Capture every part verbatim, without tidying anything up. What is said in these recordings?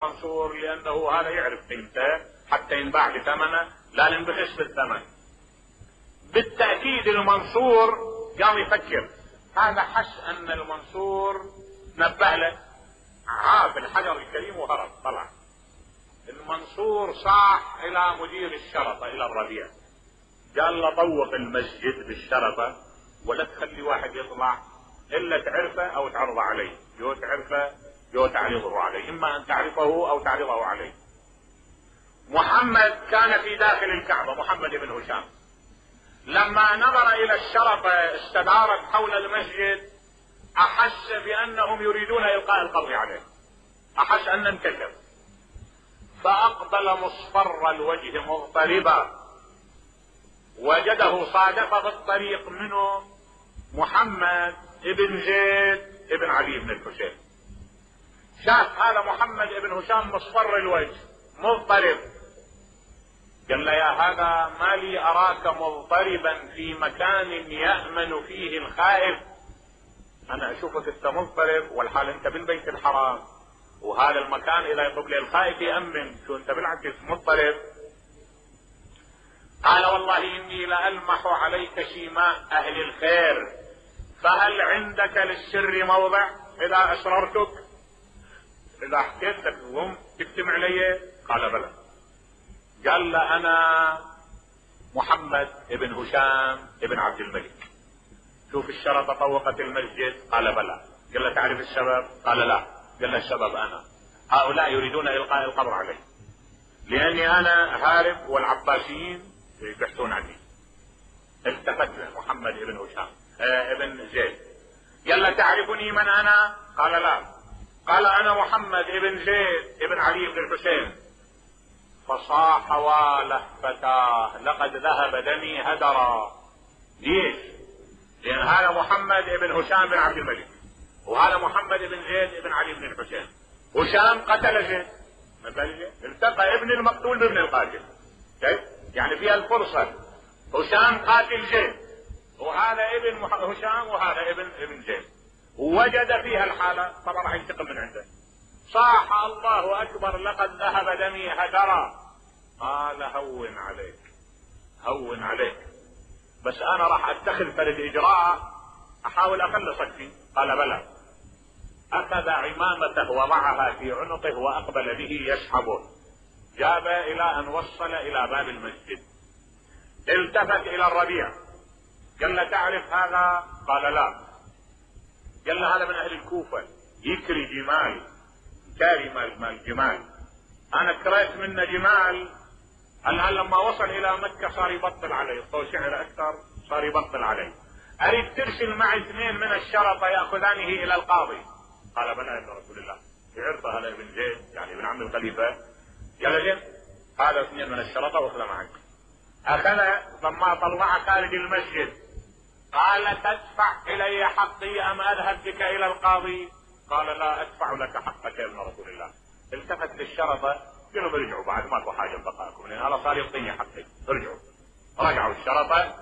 منصور لانه هذا يعرف قيمته حتى ينباع بثمنه، لا ننبخس بالثمن. بالتأكيد المنصور قام يفكر، هذا حس ان المنصور نبه له، عاب الحجر الكريم وهرب طلع. المنصور صاح الى مدير الشرطة الى الربيع، قال له طوق المسجد بالشرطة ولا تخلي واحد يطلع الا تعرفه او تعرضه عليه، يو تعرفه يو تعرضه عليه، اما ان تعرفه او تعرضه عليه. محمد كان في داخل الكعبة، محمد بن هشام، لما نظر الى الشرطة استدارت حول المسجد احس بانهم يريدون القاء القبض عليه، احس ان انكشف، فاقبل مصفر الوجه مضطربا، وجده صادف في الطريق منه محمد ابن زيد ابن علي بن الحسين. شاف هذا محمد ابن هشام مصفر الوجه مضطرب، قال له يا هذا ما لي اراك مضطربا في مكان يأمن فيه الخائف، انا اشوفك انت مضطرب والحال انت بالبيت الحرام، وهذا المكان اذا يطلب لي الخائف يأمن، شو انت بالعكس مضطرب. قال والله اني لألمح عليك شيماء اهل الخير، فهل عندك للسر موضع اذا اسررتك، اذا حكيت لك هم تكتم علي؟ قال بلى. قال له انا محمد ابن هشام ابن عبد الملك، شوف الشرطة طوقت المسجد، قال بلى. قال له تعرف السبب؟ قال لا. قال له السبب انا، هؤلاء يريدون القاء القبض علي لاني انا هارب والعباسيين يبحثون عني. التفت له محمد ابن هشام اه ابن زيد، قال له تعرفني من انا؟ قال لا. قال انا محمد ابن زيد ابن علي بن الحسين. فصاح واله فتاه لقد ذهب دمي هدرا. ليش؟ لان هذا محمد ابن هشام بن عبد الملك، وهذا محمد ابن زيد ابن علي بن الحسين. هشام قتل زيد، التقى ابن المقتول بابن القاتل، كيف؟ يعني فيها الفرصة، هشام قاتل زيد وهذا ابن هشام وهذا ابن ابن زيد، ووجد فيها الحالة طبعا راح ينتقم من عنده. صاح الله اكبر لقد ذهب دمي هدرا. قال هون عليك هون عليك، بس انا راح اتخذ فرد اجراء احاول اخلصك فيه. قال بلى. اخذ عمامته وضعها في عنقه واقبل به يسحبه، جاب الى ان وصل الى باب المسجد. التفت الى الربيع قال له تعرف هذا؟ قال لا. قال له هذا من اهل الكوفة، يكري جمال، كاري مال مال جمال، انا كريت منه جمال، الان لما وصل الى مكة صار يبطل علي، صار شعر اكثر صار يبطل علي، اريد ترسل معي اثنين من الشرطة ياخذانه الى القاضي. قال بلى يا ابن رسول الله، يعرفه هذا ابن زيد يعني ابن عم الخليفة. قال زين هذا اثنين من الشرطة واخذه معك. اخذ لما طلع خارج المسجد قال تدفع الي حقي ام اذهب بك الى القاضي؟ قال لا ادفع لك حقك يا ابن رسول الله. التفت للشرطة قالوا برجعوا بعد ماكو حاجة بقاكم لان هذا صار يعطيني حقي، ارجعوا. رجعوا الشرطة،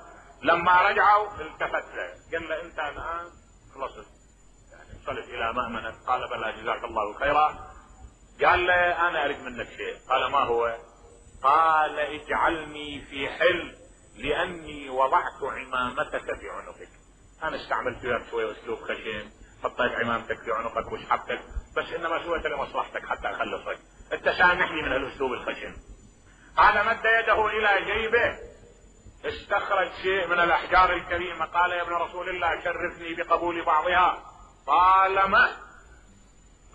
لما رجعوا التفت له قال له انت الان خلصت يعني وصلت الى مأمنك؟ قال بلى جزاك الله خيرا. قال له انا اريد منك شيء. قال ما هو؟ قال اجعلني في حل لاني وضعت عمامتك في عنقك، انا استعملت وياك شوية اسلوب خشن، حطيت عمامتك في عنقك وسحبتك، بس انما سويت لمصلحتك حتى اخلصك، انت سامحني من الاسلوب الخشن. قال مد يده الى جيبه استخرج شيء من الاحجار الكريمة، قال يا ابن رسول الله شرفني بقبول بعضها. قال ما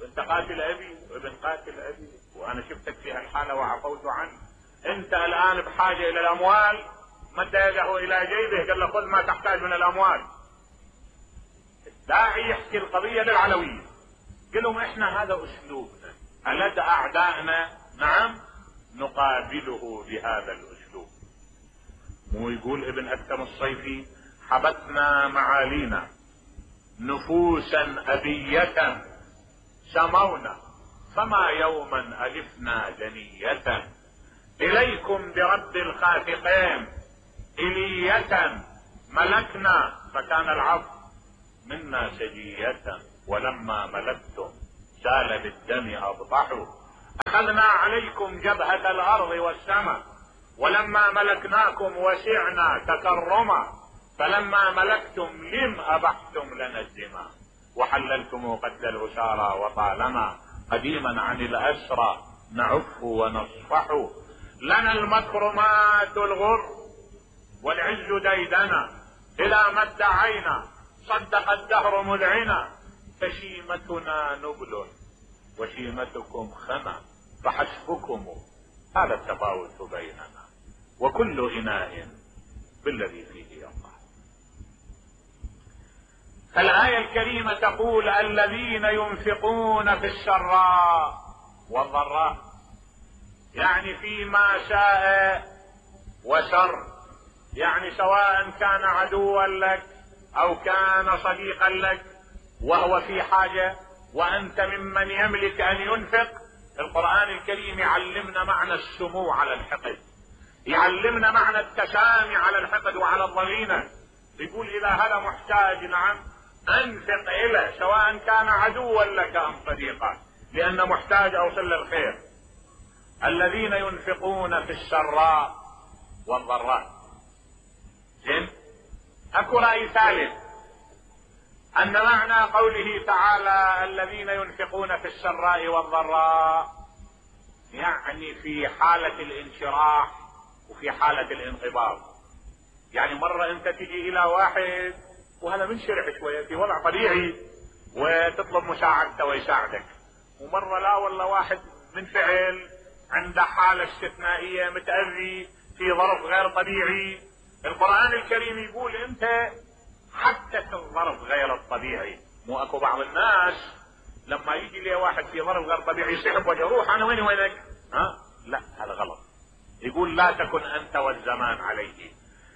انت قاتل ابي وابن قاتل ابي وانا شفتك في هالحالة وعفوت عنك، انت الان بحاجة الى الاموال. مد يده الى جيبه قال له خذ ما تحتاج من الاموال. الداعي يحكي القضية للعلوية، قال لهم احنا هذا اسلوبنا، ألدى اعدائنا نعم نقابله بهذا الاسلوب. مو يقول ابن اكثم الصيفي حبتنا معالينا نفوسا ابية سمونا فما يوما الفنا دنية، اليكم برب الخافقين الية ملكنا فكان العفو منا سجية، ولما ملكتم سال بالدم ابطحوا اخذنا عليكم جبهة الارض والسماء، ولما ملكناكم وسعنا تكرما، فلما ملكتم لم ابحتم لنا الدماء، وحللتم قتل الاسارى، وطالما قديما عن الاسرى نعف ونصفح، لنا المكرمات الغر والعز ديدنا، الى ما ادعينا صدق الدهر مذعنا، فشيمتنا نبل وشيمتكم خنا، فحسبكم هذا التفاوت بيننا، وكل اناء بالذي فيه ينضح. فالآية الكريمة تقول الذين ينفقون في السراء والضراء، يعني فيما شاء وشر، يعني سواء كان عدوا لك او كان صديقا لك وهو في حاجة وانت ممن يملك ان ينفق. القرآن الكريم يعلمنا معنى السمو على الحقد، يعلمنا معنى التسامي على الحقد وعلى الضغينة. يقول اذا هذا محتاج نعم انفق اليه، سواء كان عدوا لك ام صديقا، لان محتاج اوصل له الخير. الذين ينفقون في السراء والضراء. زين، اكو رأي ثالث ان معنى قوله تعالى الذين ينفقون في السراء والضراء يعني في حالة الانشراح وفي حالة الانقباض. يعني مرة انت تجي الى واحد وهذا منشرح شوية في وضع طبيعي وتطلب مساعدته ويساعدك، ومرة لا والله واحد منفعل عنده حالة استثنائية متأذي في ظرف غير طبيعي. القرآن الكريم يقول انت حتى في الظرف غير الطبيعي. مو اكو بعض الناس لما يجي لي واحد في ظرف غير طبيعي يسحب وجهه، روح انا وين وينك؟ ها لا، هذا غلط. يقول لا تكن انت والزمان عليه.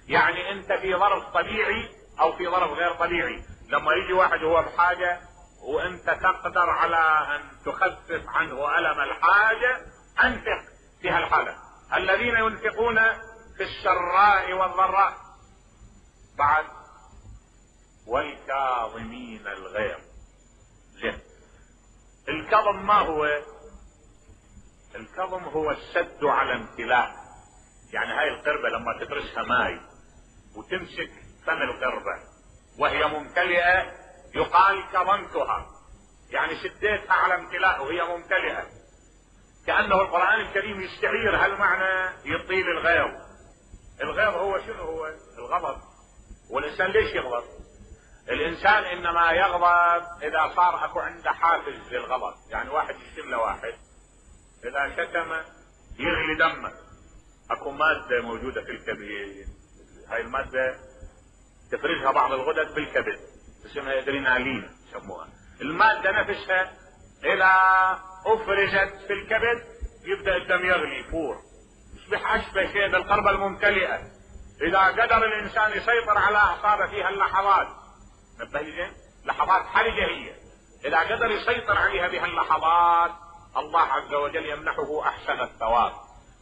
يعني انت في ظرف طبيعي او في ظرف غير طبيعي، لما يجي واحد هو بحاجة وانت تقدر على ان تخفف عنه الم الحاجة، انفق في هالحالة. الذين ينفقون في السراء والضراء. بعد والكاظمين الغيظ. زين، الكظم ما هو؟ الكظم هو السد على امتلاء. يعني هاي القربة لما تدرسها ماي وتمسك فم القربة وهي ممتلئة يقال كظمتها، يعني سديتها على امتلاء وهي ممتلئة. كأنه القرآن الكريم يستعير هالمعنى يطيل الغيظ. الغيظ هو شنو؟ هو الغضب. والإنسان ليش يغضب؟ الإنسان إنما يغضب إذا صار أكو عنده حافز للغضب. يعني واحد يشتم له واحد، إذا شتم يغلي دمه. أكو مادة موجودة في الكبد، هاي المادة تفرزها بعض الغدد بالكبد، اسمها ادرينالين يسموها. المادة نفسها إذا أفرزت في الكبد يبدأ الدم يغلي يفور، يصبح أشبه شيء بالقربة الممتلئة. إذا قدر الإنسان يسيطر على أعصابه فيها اللحظات، نبهي لحظات حرجة هي، إذا قدر يسيطر عليها بها اللحظات الله عز وجل يمنحه أحسن الثواب،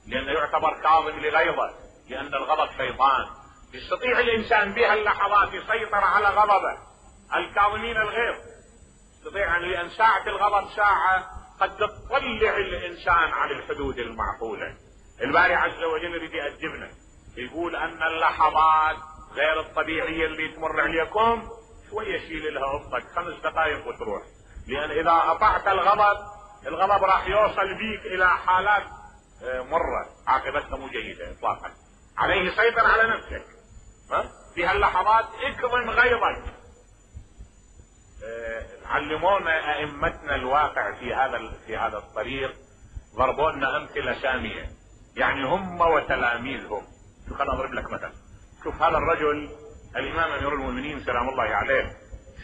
لأنه يعتبر كاظم لغيظه، لأن الغضب شيطان. يستطيع الإنسان بها اللحظات يسيطر على غضبه. الكاظمين الغيظ يستطيع، لأن ساعة الغضب ساعة قد تطلع الإنسان عن الحدود المعقولة. الباري عز وجل يريد يقدمنا، يقول أن اللحظات غير الطبيعية اللي تمر عليكم شوية شيل لها أفضل خمس دقائق وتروح، لأن إذا أطعت الغضب الغضب راح يوصل بيك إلى حالات مرة عاقبتها مو جيدة إطلاقا. عليه سيطر على نفسك في هاللحظات، اكظم غيظك. علمونا ائمتنا الواقع في هذا في هذا الطريق، ضربونا امثله ساميه، يعني هم وتلاميذهم. شو خلنا اضرب لك مثل. شوف هذا الرجل الامام امير المؤمنين سلام الله عليه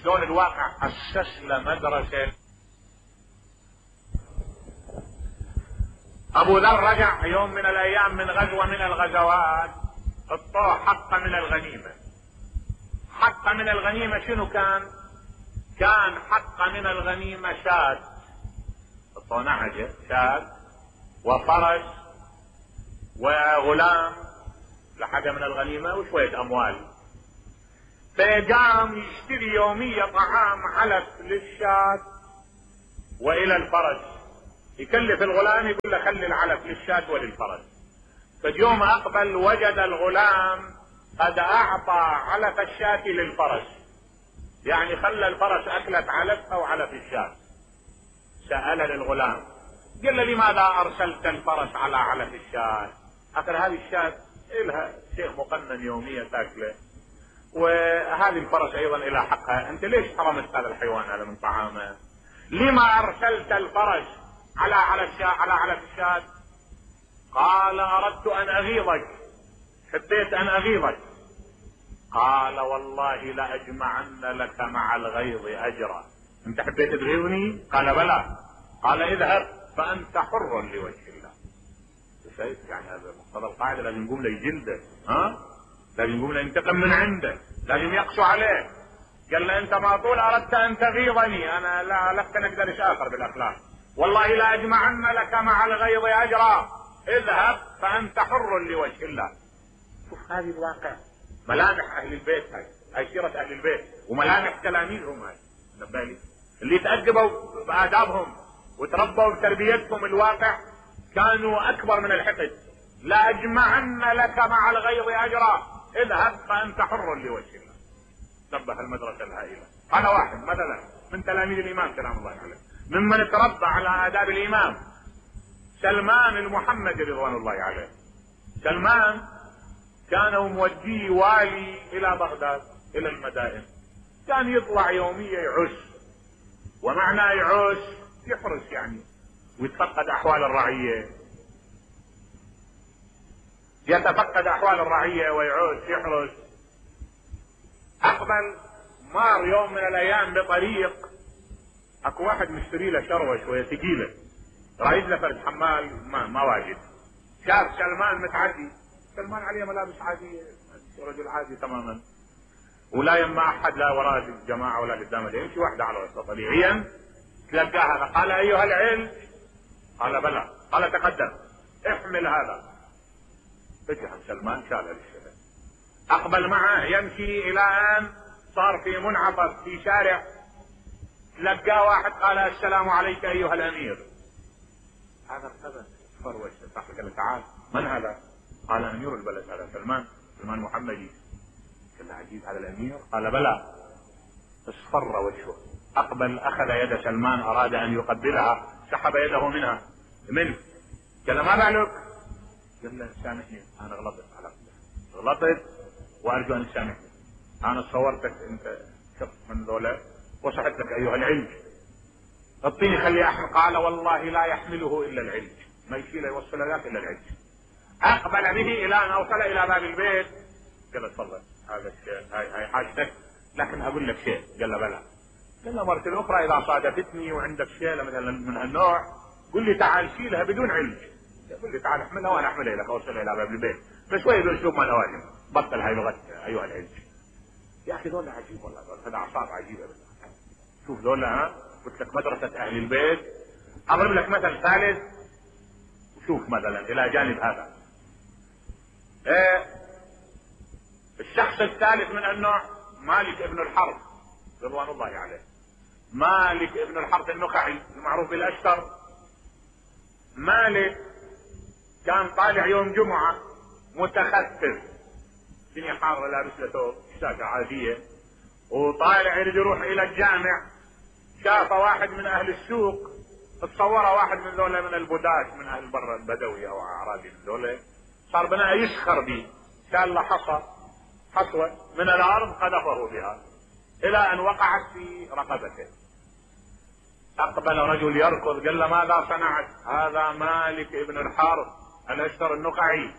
شلون الواقع اسس له مدرسه. ابو ذر رجع يوم من الايام من غزوه من الغزوات، اعطوه حق من الغنيمه. حق من الغنيمه شنو كان؟ كان حق من الغنيمه شاة، اعطوه نعجه شاة وفرس وغلام لحاجه من الغنيمه وشويه اموال. فقام يشتري يومية طعام علف للشاة والى الفرس، يكلف الغلام يقول له خلي العلف للشاة وللفرس. فاليوم اقبل وجد الغلام قد اعطى علف الشاة للفرس، يعني خلى الفرس اكلت علف او علف الشاة. سأل للغلام قال له لماذا ارسلت الفرس على علف الشاة؟ اخر هذه الشاة لها شيء مقنن يوميا تاكله، وهذه الفرس ايضا الى حقها، انت ليش حرمت هذا الحيوان هذا من طعامه؟ لما ارسلت الفرس على على الشاة على علف الشاة؟ قال اردت ان اغيظك، حبيت ان اغيظك. قال والله لاجمعن لك مع الغيظ اجرا. انت حبيت تغيظني؟ قال بلى. قال اذهب فانت حر لوجه الله. شايف يعني هذا مقتضى القاعده، لازم يقوم له يجلده، ها؟ لازم يقوم له ينتقم من عنده، لازم يقسو عليه. قال له انت ما طول اردت ان تغيظني، انا لا لست نقدرش اخر بالاخلاق، والله لا اجمعن لك مع الغيظ اجرا، اذهب فانت حر لوجه الله. شوف هذه الواقع، ملامح اهل البيت، هاي هاي سيرة اهل البيت وملامح تلاميذهم، هاي نبالي اللي تأدبوا بآدابهم وتربوا بتربيتهم الواقع كانوا اكبر من الحقد. لا اجمعن لك مع الغيظ اجرا، اذهب فانت حر لوجه الله. نبه المدرسة الهائلة. هذا واحد مثلا من تلاميذ الامام سلام الله عليه، ممن تربى على آداب الامام سلمان المحمدي رضوان الله عليه. سلمان كانوا موديه والي الى بغداد الى المدائن، كان يطلع يوميا يعش، ومعنى يعش يحرس يعني، ويتفقد احوال الرعية، يتفقد احوال الرعية ويعوش يحرس. اقبل مار يوم من الايام بطريق، اكو واحد مشتري له شروة شوية ثقيلة، رايد له فرد حمال ما, ما واجد. شاف سلمان متعدي، سلمان عليه ملابس عادية، رجل عادي تماما، ولا يما احد، لا وراء الجماعة ولا قدامه، يمشي واحدة على وسط طبيعيا. تلقاه هذا قال ايها العلم، قال بلى، قال تقدم احمل هذا. اتهم سلمان شال للشباب، اقبل معه يمشي الى ان صار في منعطف في شارع، لقاه واحد قال السلام عليك ايها الامير. هذا ارتبك فروش، صاحبك قال تعال من هذا؟ قال امير البلد هذا سلمان، سلمان محمدي. قال له عجيب هذا الامير؟ قال بلى. اصفر وجهه، اقبل اخذ يد سلمان اراد ان يقبلها، سحب يده منها منه. قال له ما بالك؟ قال له سامحني انا غلطت على قدر. غلطت وارجو ان تسامحني، انا صورتك انت شخص من ذولا وصحت لك ايها العلج، اعطيني خلي احمل. قال والله لا يحمله الا العلج، ما يشيله يوصل ذاك الا العلج. اقبل به الى ان اوصل الى باب البيت. قال له تفضل هذا الشيء، هاي هاي حاجتك، لكن اقول لك شيء. قال له بلى. قال له مرة الاخرى اذا صادفتني وعندك شيء مثلا من هالنوع قل لي تعال شيلها بدون علج، قل لي تعال احملها وانا احملها لك اوصل الى باب البيت، فشوي باسلوب ما لوازم، بطل هاي لغه ايها العلج. يا اخي دول عجيب والله، هذا اعصاب عجيبه بالله. شوف دول، ها قلت لك مدرسه اهل البيت. اضرب لك مثل ثالث، شوف مثلا الى جانب هذا إيه الشخص الثالث من النوع مالك ابن الحرب رضوان الله عليه. مالك ابن الحرب النخعي المعروف بالاشتر. مالك كان طالع يوم جمعة متخفف، الدنيا حارة، لابس له ثوب شاكة عادية، وطالع يريد يروح الى الجامع. شاف واحد من اهل السوق، تصوره واحد من ذولا من البداة من اهل برا البدوي او اعرابي من ذولا، صار بناء يسخر به، شال له حصى حصوة من الارض قذفه بها الى ان وقعت في رقبته. اقبل رجل يركض، قال له ماذا صنعت؟ هذا مالك ابن الحارث الاشتر النقعي.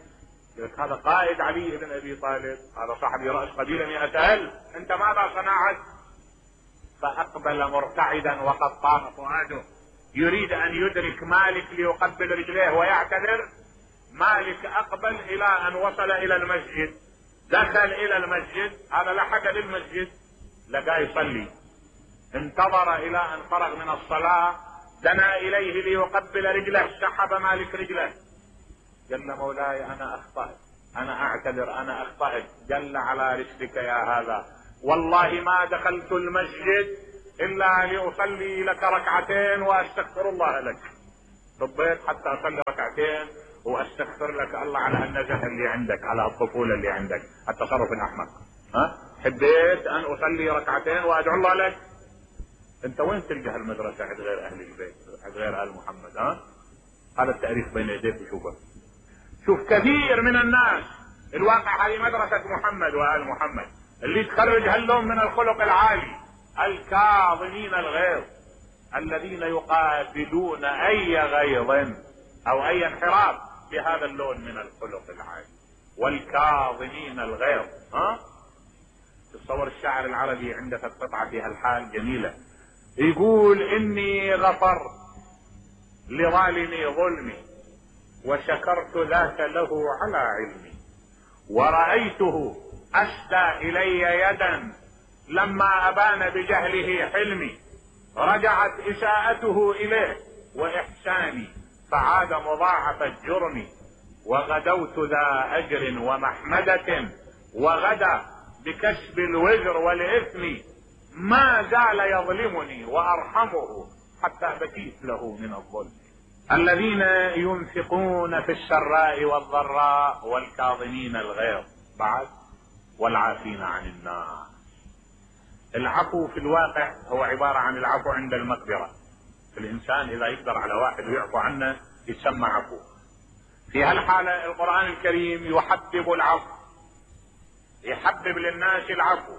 هذا قائد علي بن ابي طالب، هذا صاحب رأس قبيلة مئة ألف، انت ماذا صنعت؟ فاقبل مرتعدا وقد طاف فؤاده، يريد ان يدرك مالك ليقبل رجليه ويعتذر. مالك اقبل الى ان وصل الى المسجد، دخل الى المسجد، هذا لحق للمسجد لقاه يصلي، انتظر الى ان فرغ من الصلاة، دنا اليه ليقبل رجله، سحب مالك رجله. قال له مولاي انا اخطأت، انا اعتذر، انا اخطأت. قال على رسلك يا هذا، والله ما دخلت المسجد الا لاصلي لك ركعتين واستغفر الله لك، صبيت حتى اصلي ركعتين واستغفر لك الله على هالنزهه اللي عندك، على الطفوله اللي عندك، التصرف الاحمق. ها حبيت ان اصلي ركعتين وادعو الله لك. انت وين تلقى هالمدرسه عند غير اهل البيت، عند غير ال محمد؟ ها هذا التاريخ بين يديك وشوفه. شوف كثير من الناس الواقع هذه مدرسه محمد وال محمد اللي تخرج هاللون من الخلق العالي، الكاظمين الغيظ الذين يقابلون اي غيظ او اي انحراف بهذا اللون من الخلق العالي، والكاظمين الغيظ. ها تصور الشاعر العربي عنده قطعة في هالحال جميلة، يقول اني غفرت لظالمي ظلمي وشكرت ذاك له على علمي، ورأيته اشدى الي يدا لما ابان بجهله حلمي، رجعت اساءته اليه واحساني فعاد مضاعف الجرم، وغدوت ذا اجر ومحمدة وغدا بكسب الوزر والاثم، ما زال يظلمني وارحمه حتى بكيت له من الظلم. الذين ينفقون في السراء والضراء والكاظمين الغيظ بعد والعافين عن الناس. العفو في الواقع هو عبارة عن العفو عند المقدرة. الانسان اذا يقدر على واحد ويعفو عنه يسمى عفو. في هالحالة القرآن الكريم يحبب العفو، يحبب للناس العفو.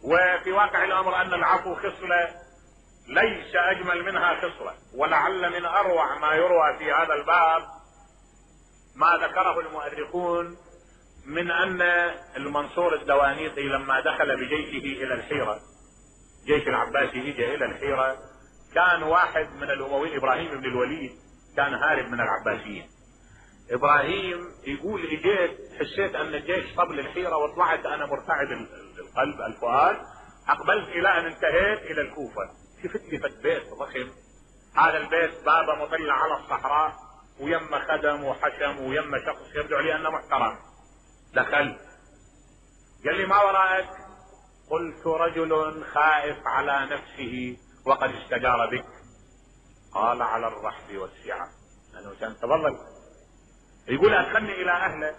وفي واقع الامر ان العفو خصلة ليس اجمل منها خصلة، ولعل من اروع ما يروى في هذا الباب ما ذكره المؤرخون من ان المنصور الدوانيقي لما دخل بجيشه الى الحيرة، جيش العباسي اجى الى الحيرة، كان واحد من الامويين ابراهيم بن الوليد كان هارب من العباسيين. ابراهيم يقول اجيت حسيت ان الجيش طبل الحيرة وطلعت انا مرتعد القلب الفؤاد، اقبلت الى ان انتهيت الى الكوفة، شفت لي فت بيت ضخم، هذا البيت بابه مطلع على الصحراء ويم خدم وحشم ويم شخص يبدو لي انه محترم. دخلت قال لي ما وراءك؟ قلت رجل خائف على نفسه وقد استجار بك. قال على الرحب والسعة. انا كان تفضل. يقول ادخلني الى اهله،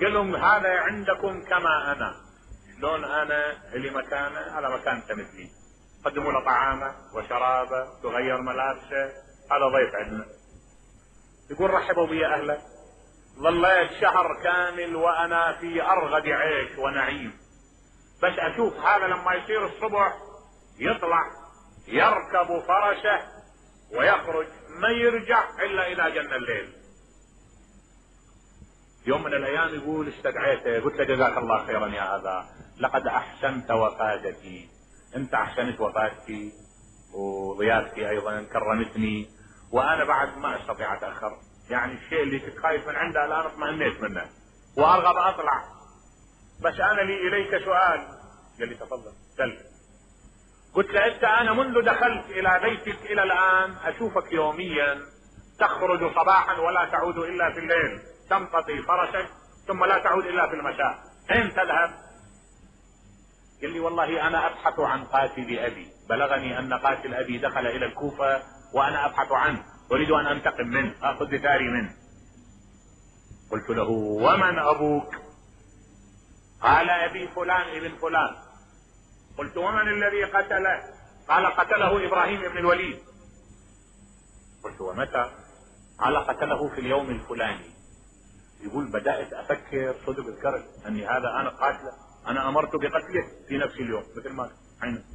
قال لهم هذا عندكم كما انا، شلون انا اللي مكانه على مكان انت مثلي، قدموا له طعامه وشرابه تغير ملابسه، هذا ضيف عندنا. يقول رحبوا بي اهله، ظليت شهر كامل وانا في ارغد عيش ونعيم، بس اشوف هذا لما يصير الصبح يطلع يركب فرسه ويخرج ما يرجع الا اذا جن الليل. يوم من الايام يقول استدعيته، قلت له جزاك الله خيرا يا ابا، لقد احسنت وفادتي، انت احسنت وفادتي وضيافتي ايضا كرمتني، وانا بعد ما استطيع اتاخر، يعني الشيء اللي كنت خايف من عنده الان اطمئنيت منه وارغب اطلع، بس انا لي اليك سؤال. قال لي تفضل سل. قلت له انت انا منذ دخلت الى بيتك الى الان اشوفك يوميا تخرج صباحا ولا تعود الا في الليل، تمتطي فرسك ثم لا تعود الا في المساء، اين تذهب؟ قال لي والله انا ابحث عن قاتل ابي، بلغني ان قاتل ابي دخل الى الكوفة وانا ابحث عنه، اريد ان انتقم منه، اخذ بثاري منه. قلت له ومن ابوك؟ قال ابي فلان ابن فلان. قلت ومن الذي قتله؟ قال قتله ابراهيم بن الوليد. قلت ومتى؟ قال قتله في اليوم الفلاني. يقول بدأت افكر صدق الكرب اني هذا انا قاتله، انا امرت بقتله في نفس اليوم مثل ما حين.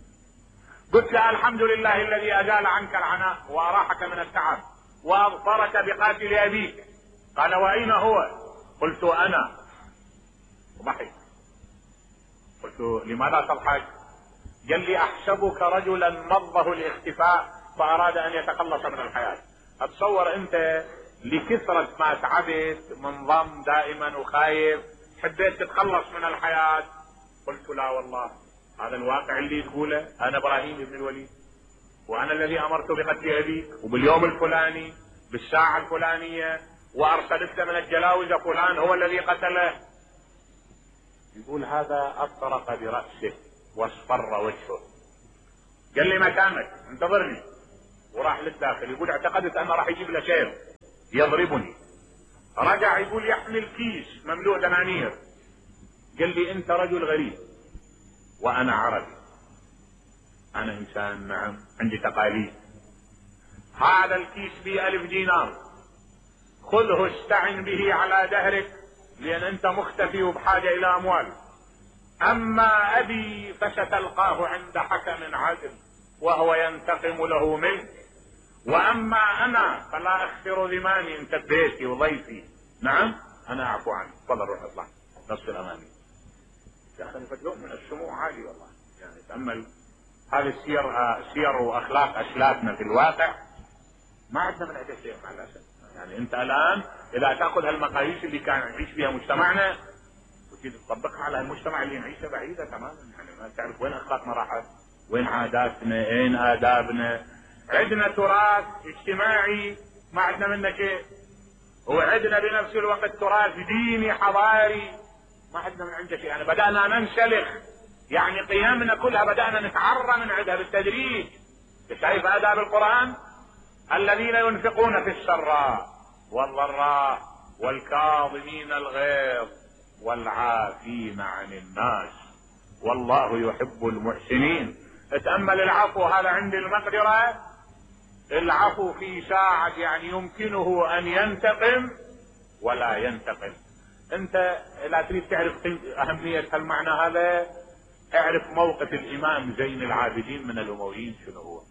قلت له الحمد لله الذي ازال عنك العناء واراحك من التعب واظفرك بقاتل ابيك. قال واين هو؟ قلت انا. ضحك. قلت لماذا تضحك؟ قال لي احسبك رجلا مضه الاختفاء فاراد ان يتخلص من الحياة. اتصور انت لكثرة ما تعبت منضم دائما وخايف حبيت تتخلص من الحياة. قلت لا والله هذا الواقع اللي تقوله، انا ابراهيم بن الوليد وانا الذي امرت بقتل ابيك وباليوم الفلاني بالساعة الفلانية وارسلت من الجلاوزة فلان هو الذي قتله. يقول هذا اطرق برأسه واصفر وجهه. قال لي مكانك انتظرني. وراح للداخل، يقول اعتقدت انه راح يجيب له سيف يضربني. رجع يقول يحمل كيس مملوء دنانير. قال لي انت رجل غريب وانا عربي، انا انسان نعم عندي تقاليد، هذا الكيس بي الف دينار، خذه استعن به على دهرك لان انت مختفي وبحاجة الى اموال. اما ابي فستلقاه عند حكم عدل وهو ينتقم له منك، واما انا فلا اخسر ذماني، انت بيتي وضيفي، نعم انا اعفو عنك، تفضل روح اطلع نصف الامامي. يا اخي فتلون من السمو عالي والله. يعني تأمل هذه السير، سير واخلاق اسلافنا في الواقع ما عندنا من عندها شيء مع الاسف. يعني انت الان اذا تاخذ هالمقاييس اللي كان يعيش فيها مجتمعنا وتيجي تطبقها على المجتمع اللي نعيشه بعيده تماما، يعني ما تعرف وين اخلاقنا راحت، وين عاداتنا، وين ادابنا. عندنا تراث اجتماعي ما عندنا منه شيء، وعندنا بنفس الوقت تراث ديني حضاري ما عندنا من عنده شيء. يعني بدأنا ننسلخ، يعني قيمنا كلها بدأنا نتعرى من عندها بالتدريج. شايف آداب القرآن؟ الذين ينفقون في السراء والضراء والكاظمين الغيظ والعافين عن الناس والله يحب المحسنين. اتأمل العفو هذا عند المقدرة، العفو في ساعة يعني يمكنه ان ينتقم ولا ينتقم. انت لا تريد تعرف اهمية المعنى هذا، اعرف موقف الامام زين العابدين من الامويين شنو هو.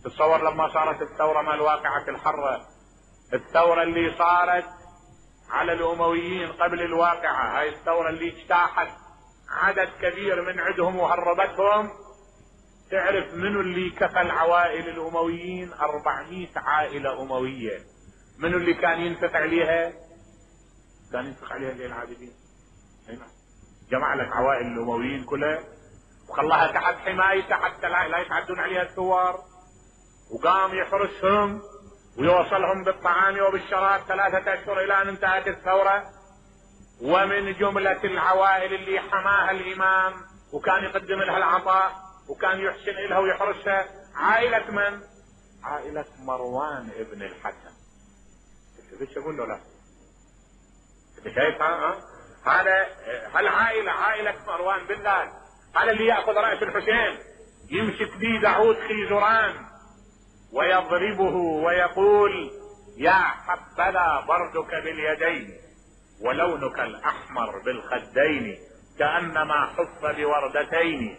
تتصور لما صارت الثورة مال واقعة الحرة، الثورة اللي صارت على الامويين قبل الواقعة، هاي الثورة اللي اجتاحت عدد كبير من عندهم وهربتهم، تعرف منو اللي كفل عوائل الامويين؟ أربعمائة عائلة اموية. منو اللي كان ينفق عليها؟ كان ينفق عليها زين العابدين. جمع لك عوائل الامويين كلها وخلاها تحت حمايته حتى لا يتعدون عليها الثوار، وقام يحرسهم ويوصلهم بالطعام وبالشراب ثلاثة اشهر الى ان انتهت الثورة. ومن جملة العوائل اللي حماها الامام وكان يقدم لها العطاء وكان يحسن لها ويحرسها عائلة من؟ عائلة مروان ابن الحكم. ايش اقول له؟ لا انت شايف ها هذا هالعائلة عائلة مروان بالله، هذا اللي يأخذ رأس الحسين يمسك بيه داود خيزران ويضربه ويقول يا حبذا بردك باليدين ولونك الاحمر بالخدين كأنما حف بوردتين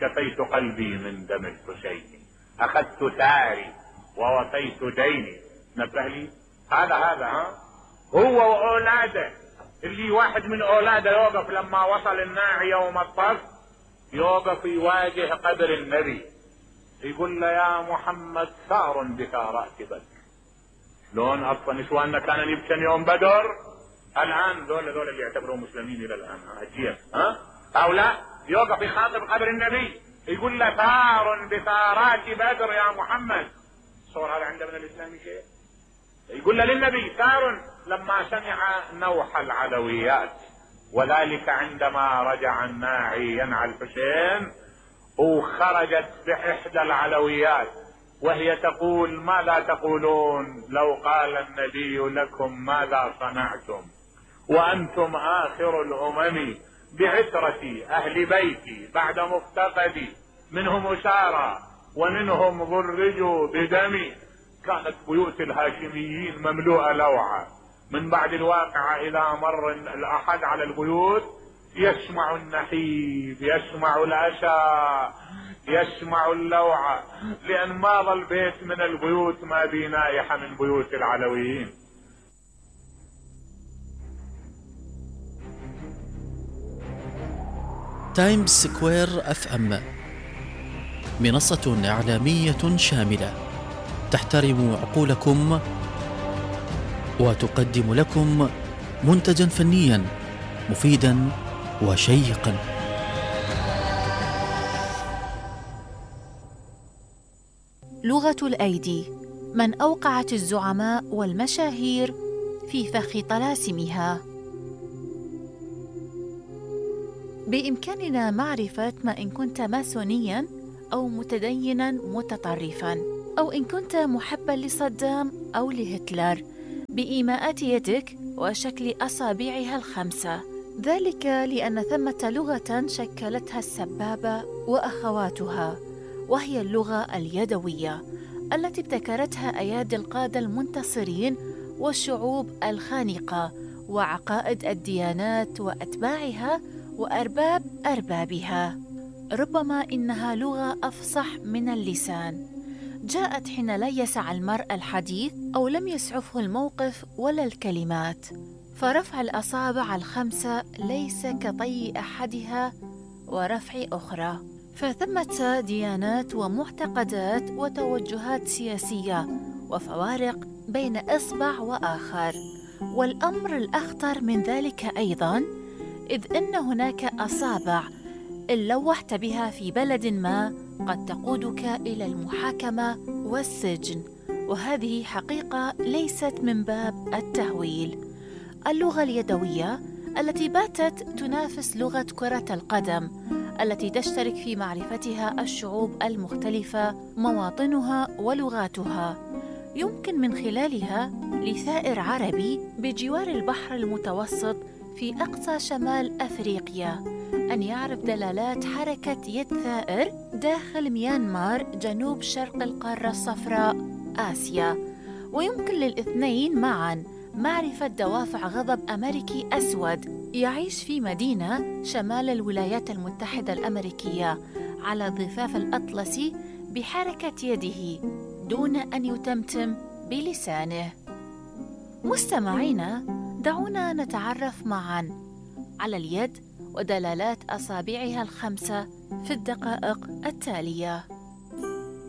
شفيت قلبي من دم الحسين اخذت ثاري ووفيت ديني. نبه لي هذا هذا ها هو واولاده، اللي واحد من اولاده يوقف لما وصل الناعي يوم الطف يوقف يواجه قبر النبي يقول له يا محمد ثار بك راكبك. لون اصلا نسواننا كانوا يبكن يوم بدر، الان ذول ذول اللي يعتبرون مسلمين الى الان هجيه ها او لا، يوقف يخاطب قبر النبي يقول له ثار بثارات بدر يا محمد. صور هذا عنده من الاسلام شيء؟ يقول له للنبي ثار لما سمع نوح العلويات، وذلك عندما رجع الناعي ينعى الحسين وخرجت باحدى العلويات وهي تقول ماذا تقولون لو قال النبي لكم ماذا صنعتم وانتم اخر الامم بعترتي اهل بيتي بعد مفتقدي منهم اسارى ومنهم ضرجوا بدمي. كانت بيوت الهاشميين مملوءة لوعة. من بعد الواقعة اذا مر الاحد على البيوت يسمع النحيب، يسمع الاسى، يسمع اللوعة، لان ما ظل بيت من البيوت ما بي نائحة من بيوت العلويين. تايمز سكوير اف ام منصة اعلامية شاملة تحترم عقولكم وتقدم لكم منتجا فنيا مفيدا وشيقا. لغة الأيدي، من أوقعت الزعماء والمشاهير في فخ طلاسمها. بإمكاننا معرفة ما إن كنت ماسونيا أو متدينا متطرفا، أو إن كنت محباً لصدام أو لهتلر بإيماءات يدك وشكل أصابعها الخمسة، ذلك لأن ثمة لغة شكلتها السبابة وأخواتها، وهي اللغة اليدوية التي ابتكرتها أيادي القادة المنتصرين والشعوب الخانقة وعقائد الديانات وأتباعها وأرباب أربابها. ربما إنها لغة أفصح من اللسان، جاءت حين لا يسع المرء الحديث أو لم يسعفه الموقف ولا الكلمات، فرفع الأصابع الخمسة ليس كطي أحدها ورفع أخرى. فثمة ديانات ومعتقدات وتوجهات سياسية وفوارق بين إصبع وآخر. والأمر الأخطر من ذلك أيضاً إذ إن هناك أصابع إن لوحت بها في بلد ما قد تقودك إلى المحاكمة والسجن، وهذه حقيقة ليست من باب التهويل. اللغة اليدوية التي باتت تنافس لغة كرة القدم التي تشترك في معرفتها الشعوب المختلفة مواطنها ولغاتها، يمكن من خلالها لثائر عربي بجوار البحر المتوسط في أقصى شمال أفريقيا أن يعرف دلالات حركة يد ثائر داخل ميانمار جنوب شرق القارة الصفراء آسيا، ويمكن للاثنين معاً معرفة دوافع غضب أمريكي أسود يعيش في مدينة شمال الولايات المتحدة الأمريكية على ضفاف الأطلسي بحركة يده دون أن يتمتم بلسانه. مستمعينا، دعونا نتعرف معاً على اليد ودلالات أصابعها الخمسة في الدقائق التالية.